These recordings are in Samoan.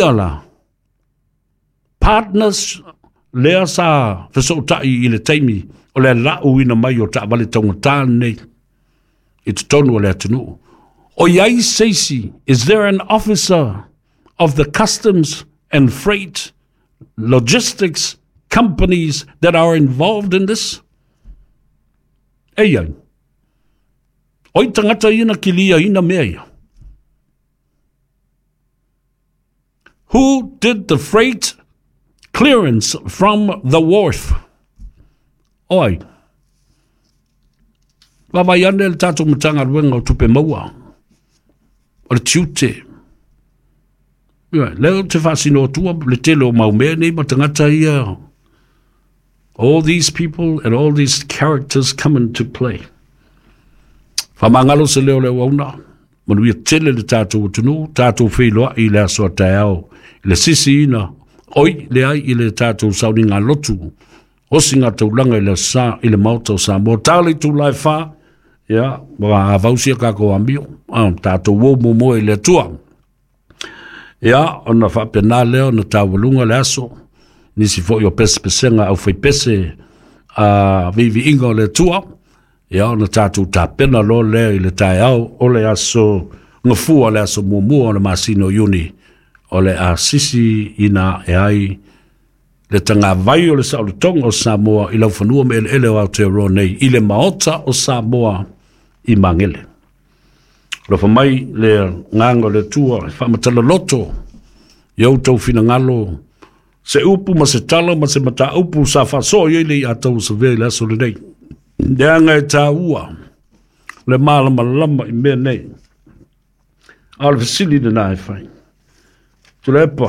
la partners lea sa fesootai i le taimi o le lauina mai o taavale taugata nei i totonu o le atunuu. O i ai se isi, is there an officer of the customs and freight logistics companies that are involved in this? E i ai. O ai tagata ia na kiliaina mea ia? Who did the freight clearance from the wharf? O ai? Vaavaai ane le tatou Matagaluega o Tupe Maua, o le tiute. Ia, lea ou te faasino atua le tele o mau mea nei ma tagata ia. All these people and all these characters come into play. Faamagalo se leo le auauna, manuia tele le tatou atunuu, tatou feiloai i le aso a taeao, i le sisiina, oi, leai i le tatou sauniga lotu, osiga taulaga i le Aso Sa i le Maota o Samoa. Ta le itula e 4, ia, ua avausia kākou amio, tatou o muamua i le Atua. Ia, ona faapena lea ona taualuga le aso, nisi foi o pesepesega au faipese a viiviiga o le Atua, ia ona tatou tapena loa lea i le taeao o le aso Gafua, le aso muamua o le masina o Iuni, o le a sisi ina e ai le tagavai o le saolotoga o Samoa i laufanua ma eleele o Aotearoa nei i le Maota o Samoa i Magele. Alofa mai le agaga o le Atua e faamatala loto i outou finagalo se upu ma se tala ma se mataupu sa faasoa i ai le iatau o Savea i le aso lenei. Leaga e taua le malamalama i mea nei. A o le fesili lena e fai. Tuilaepa,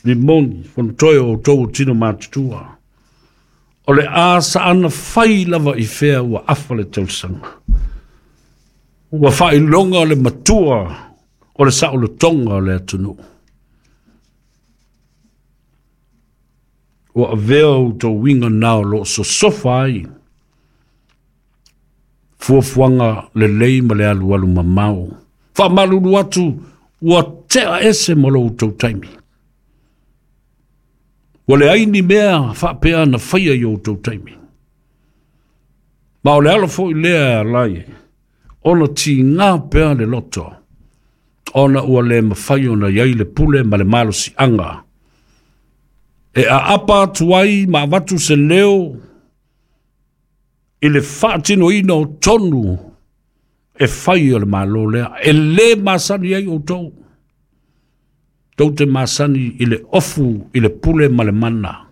Rimoni, Fonotoe o outou o tino matutua. O le a saana fai lava i fea ua afa le tausaga. Ua faailoga le matua o le saolotoga o le atunuu. Ua avea outou uiga na o lo o sosofa ai fuafuaga lelei ma le alualu mamao. Faamalulu atu ua tea ese ma lo outou taimi. Ua leai ni mea faapea na faia i outou taimi. Ma o le ala foi lea e ala ai ona tiga pea le loto, ona ua le mafai ona i ai le pule ma le malosiaga e aapa atu ai ma avatu se leo i le faatinoina o tonu e fai o le Malo lea, e lē masani ai outou. Tou te masani i le ofu i le pule ma le mana.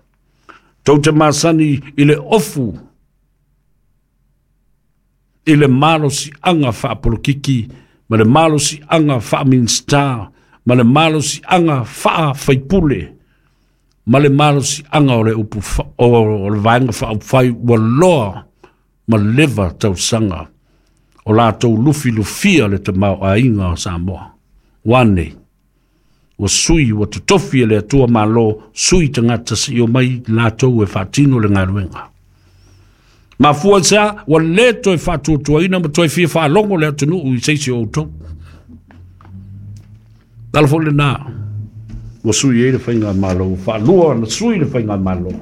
Tou te masani i le ofu i le malosiaga faapolokiki ma le malosiaga faaminista ma le malosiaga faafaipule ma le malosiaga o le upu o le vaega faaupufai ua loa ma leva tausaga o latou lufilufia le tamaoaiga o Samoa. Ua nei, ua sui, ua totofi e le Atua Malo, sui tagata se i omai latou e faatino le galuega. Mafua i se a, ua le toe faatuatuaina ma toe fia faalogo le atunuu i se isi o outou. Tala foi lena, ua sui ai le faigamalo, ua faalua ona sui le faigamalo.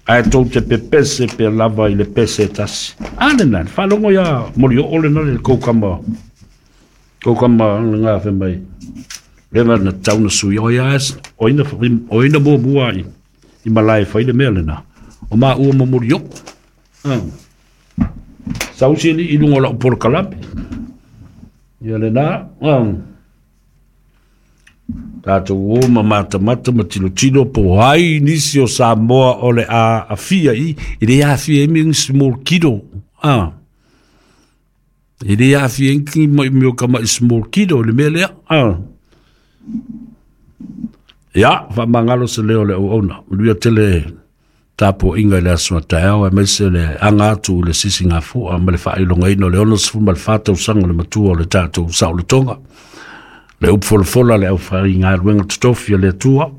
Ae tou te pepese pea lava i le pese e tasi. A lena, le faalogo ia Molioo lena le kou kama, kou kama lena fai mai. Lena na tau na sui o ia o ina o ina muamua i i malae fai le mea lena. O maua ma Molioo. Sausi ni i lunga o lau polokalame. Ia lena, Tatou o ma matamata ma tilotilo po ai nisi o Samoa o le a afia i, e le afia i me small kiddo. Ah. E le afia i ki mai meo ka mai small kiddo le mea lea. Ah. Ia, faamagalo se leo o le auauna. Manuia tele tapuaiga i le aso a taeao, aemaise le aga atu i le sisigafua ma le faailogaina o le 64 tausaga o le matua o le tatou saolotoga, le upu folafola a le aufaigaluega totofi a le Atua.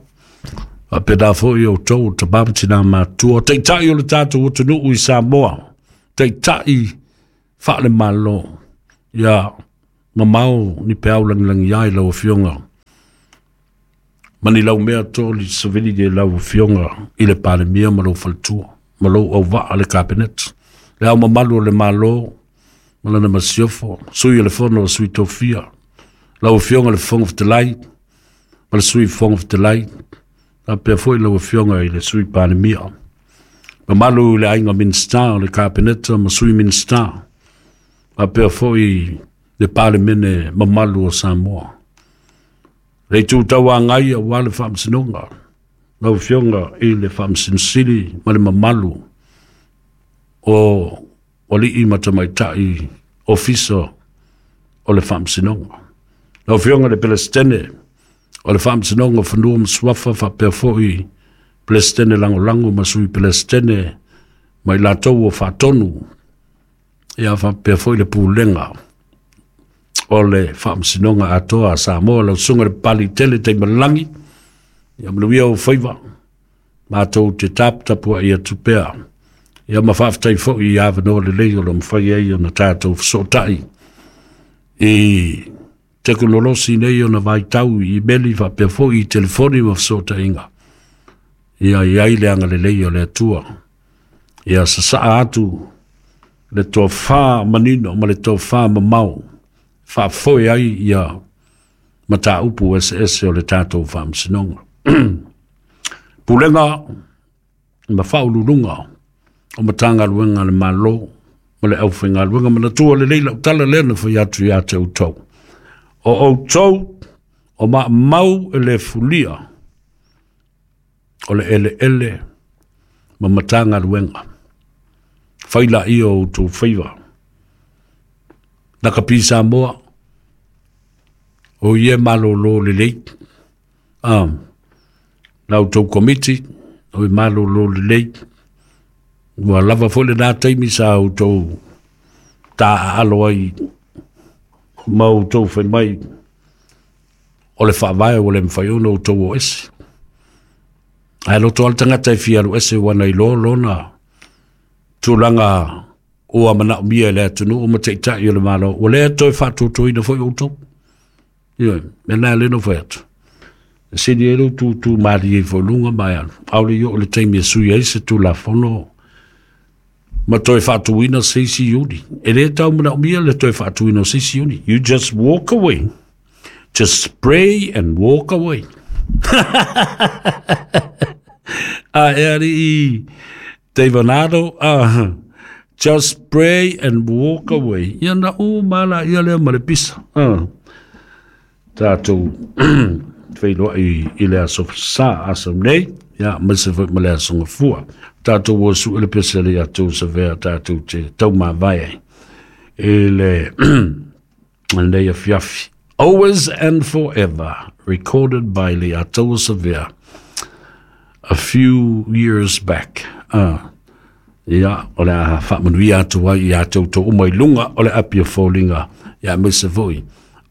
Faapena foi outou o tama ma tina matutua, taitai o le tatou atunuu i Samoa, taitai faale-Malo, ia mamao ni peau lagilagi ai lau Afioga. Ma ni laumea toli savili i lau Afioga i le Palemia ma lou faletua ma lou auvaa le Kapeneta, Le Ao Mamalu o le Malo ma lana Masiofo, Sui o le Fono a Sui Tofia, lau Afioga i le Fofoga Fetalai ma le Sui Fofoga Fetalai, faapea foi lau Afioga i le Sui Palemia. Mamalu i le aiga Minisita o le Kapeneta ma Sui Minisita, faapea foi le Palemene mamalu o Samoa. Le Itu Tauagai aua le Faamasinoga, lau Afioga i le Faamasino Sili ma le mamalu o alii ma tamaitai ofisa o le Faamasinoga. Lau Afioga i le Peresetene o le Faamasinoga o Fanua ma Suafa faapea foi Peresetene Lagolago ma Sui Peresetene ma i latou o faatonu, ia faapea foi le Pulega o le Faamasinoga atoa a Samoa. Lau Susuga i le Papaliitele Taimalagi, ia manuia ou faiva, matou te taputapuai atu pea. Ia ma faafetai foi i avanoa lelei o lo o mafai ai ona tatou fesootai i tekonolosi nei ona vaitau i imeli faapea foi i telefoni ma fesootaiga. Ia i ai le agalelei o le Atua. Ia sasaa atu le tofa manino ma le tofa mamao faafoe ai ia mataupu eseese o le tatou Faamasinoga. Pulega ma Faauluuluga o Matagaluega a le Malo ma le aufaigaluega, manatua lelei lau tala lea na fai atu ia te outou. O outou o maamau e le fulia o le eleele ma Matagaluega. Fai laia o outou faiva. Lakapi Samoa, o ia malolo lelei. La outou komiti, o e malolo lelei. Ua lava foi lena taimi sa outou taaalo ai ma outou fai mai o le faavae ua le mafai ona outou o ese. Ae loto lava le tagata e fia alu ese ua na iloa lona tulaga ua manaomia e le atunuu ma taitai o le Malo, ua le toe faatuatuaina foi outou. Ioe, mea lena lea na fai atu. E sili ai lou tutu malie ifo i luga ma e alu, ʻaʻole i oo i le taimi e sui ai se Tulafono ma toe faatuina se isi iuli. E le tau manaomia le toe faatuina o se isi iuli. You just walk away. Just pray and walk away. A e alii David just pray and walk away. Ia na u mala ia lea ma le pisa. Tatou feiloai i le aso sa aso nei, ia ma se foi ma le aso gafua. Tatou o su le pese le atu sa vea tatou te taumavae ai i le lenei afiafi. Always and Forever, recorded by Leiataua Savea a few years back. Ia, o le a faamanuia atu ai ia te outou uma i luga o le api o foliga, ia aemaise foi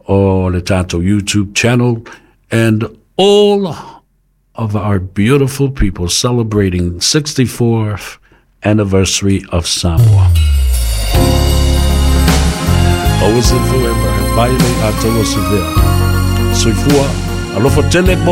o le tatou YouTube channel and all of our beautiful people celebrating 64th anniversary of Samoa. Always and forever, by Leiataua Savea. Soifua, alofa tele mo.